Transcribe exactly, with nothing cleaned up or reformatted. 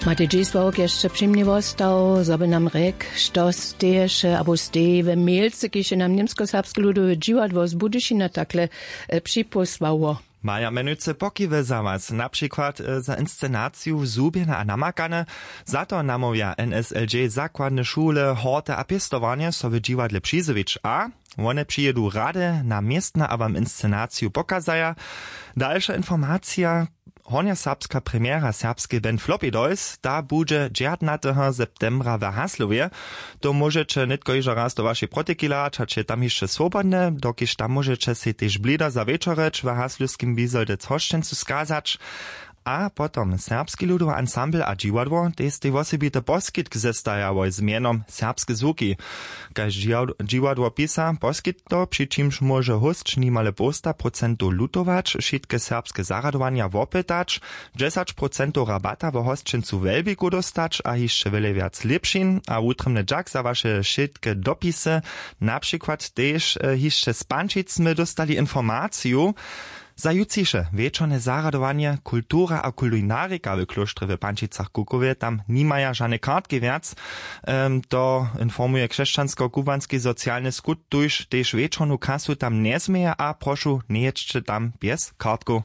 Matej dźisławk jeszcze při mnje wostał, zo by nam rjek, što steješe abo steji we mělcy, kiž je nam němskoserbske ludowe dźiwadło z budyšina takle připósłało. Maja mjenujcy pokiwy za was, na přikład za inscenaciju zhubjene a namakane. Za to namołwja n s l j zakładne šule, horty a pěstowarnje so w dźiwadle přizjewić a wone přijědu rady na městna a wam inscenaciju pokazaja. Dalša informacija: hornjoserbska premiera serbskej band flopidoys, ta budźe dźertnateho septembra w haslowje. To móžeće nětko hižo raz do wašej protekilać hač je tam hišće swobodne, dokiž tam móžeće sej tež blěda za wječorjeć w haslowskim bizoldec hosćencu skazać. A potom serbski ludowy ansambl a dźiwadło tež stej wosebity poskitk zestajałoj z mjenom serbske zwuki. Kaž dźiwadło pisa, poskitk to, při čimž móže hósć nimale połsta procentow lutować, wšitke serbske zarjadowanja wopytać, dźesać procentow rabata wo hosćencu w welbiku dóstać a hišće wjele wjac lěpšin a wutrjebny dźak za waše wšitke dopisy. Na přikład tež hišće z pančic smy dóstali informaciju: za jutřiše wječorne zarjadowanje kultura a kulinarika w klóštrje w pančicach kukowje tam nimaja žane kartki wjac. To informuje křesćansko-kubłanski socialny skut, tuž tež wječornu kasu tam njezměje a prošu, njejědźće tam bjez kartkow.